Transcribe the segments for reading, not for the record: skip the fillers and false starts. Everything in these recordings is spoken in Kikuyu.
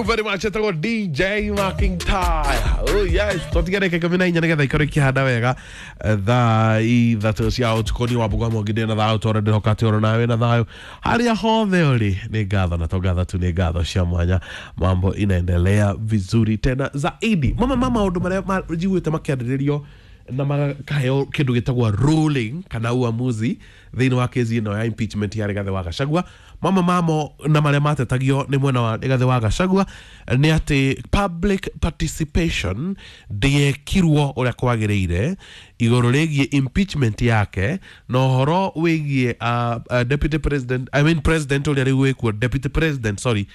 Very much. Etagwo DJ McIntyre. Oh yes, twatigara 14 nigetha ikorwo ikihanda wega thaa 3 cia ũtukũ. Niĩ Wambũgwa Mwangi ndĩ na thayũ tondũ ndĩroka atĩ oro nawe na thayũ harĩa hothe ũrĩ. Nĩ ngatho na to ngatho tu, nĩ ngatho cia mwanya. Mambo inaendelea vizuri tena zaidi. Mama ma maũndũ marĩa njiguĩte makĩarĩrĩrio na makaheo kĩndũ gĩtagwo ruling kana uamuzi thĩinĩ wa kesi ĩno ya impeachment ya Rigathĩ wa Gachagua, mamwe mamo na marĩa matetagio nĩ mwena wa Rigathĩ wa Gachagua nĩ atĩ public participation ndĩekirwo ũrĩa kwagĩrĩire igũrũ rĩgiĩ impeachment yake na ũhoro wĩgiĩ deputy president, I mean president ũrĩa rĩu wĩkuo, deputy president, sorry,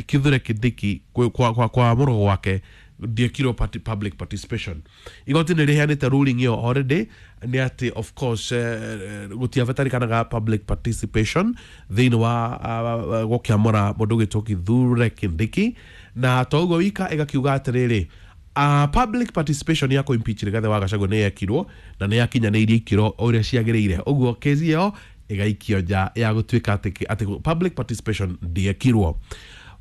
Kithure Kindiki kwa mũrũgo gwake ndiekirwo public participation. Igoti nĩ rĩheanĩte ruling ĩyo already, nĩ atĩ of course gũtiabatarĩkanaga public participation thĩinĩ wa gũkĩamũra mũndũ ũgwĩtwo Kithure Kindiki. Na to ũguo wika, ĩgakiuga atĩrĩrĩ, public participation ya kũ-impeach Rigathĩ wa Gachagua nĩ yekirwo na nĩ yakinyanĩirie ikĩro ũrĩa ciagĩrĩire. Ũguo kesi ĩyo ĩgaikio nja ya gũtuĩka atĩ public participation ndĩekirwo.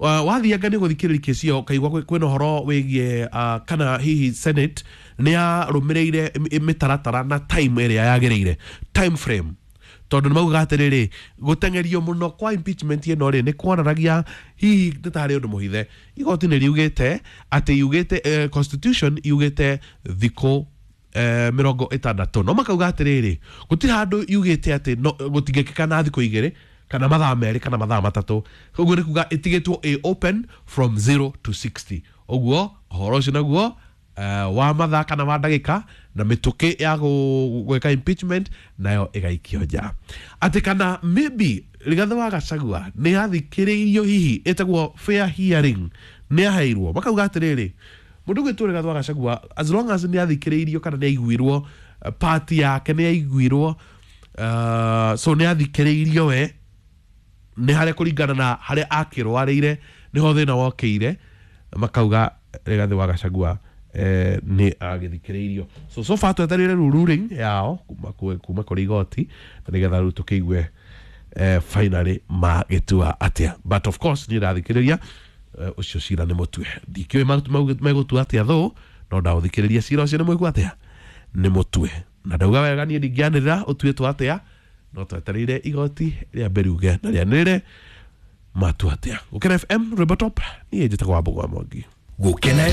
Wathianga nĩ gũthikĩrĩria kesi ĩyo, ũkaigua kwĩna ũhoro wĩgiĩ kana hihi Senate nĩ yarũmĩrĩire mĩtaratara na time ĩrĩa yagĩrĩire, time frame, tondũ nĩ maugaga atĩrĩrĩ, gũteng'erio mũno kwa impeachment ĩno rĩ nĩ kuonanagia hihi nĩ tarĩ ũndũ mũhithe. Igoti nĩ riugĩte atĩ yugĩte constitution yugĩte thikũ 60, no makauga atĩrĩrĩ, gũtirĩ handũ yugĩte atĩ no, gũtingĩkĩka na thikũ 2 kana mathaa 2 kana mathaa 3. Ũguo nĩ kuga ĩtigĩtwo ĩ open from 0 to 60. Ũguo ũhoro ũcio naguo wa mathaa kana wa ndagĩka na mĩtũkĩ ya gwĩka impeachment nayo ĩgaikio nja. Atĩ kana maybe Rigathĩ wa Gachagua nĩ athikĩrĩirio, hihi ĩtagwo fair hearing nĩ aheirwo. Makauga atĩrĩrĩ, mũndũ ũgwĩtwo Rigathĩ wa Gachagua, as long as nĩ athikĩrĩirio kana nĩ aiguirwo, part yake nĩ aiguirwo, so nĩ athikĩrĩirio we nĩ harĩa kũringana na harĩa akĩrwarĩire nĩho thĩna wokĩire. Makauga Rigathĩ wa Gachagua nĩ agĩthikĩrĩirio. So far twetereire rĩu ruling yao kuma kũrĩ igoti na nĩgetha rĩu tũkĩigue finally magĩtua atĩa. But of course niĩ ndathikĩrĩria ũcio cira nĩ mũtue. Ndikĩũĩ megũtua atĩa thũ, no ndaũthikĩrĩria cira ũcio nĩ mũigua atĩa nĩ mũtue, na ndauga wega niĩ ndingĩanĩrĩra ũtuĩtwo atĩa, no twetereire igoti rĩambe riuge na rĩanĩrĩre matua atĩa. Gũkena FM, rwĩmbo top. Niĩ njĩtagwo Wambũgwa Mwangi. Gũkena.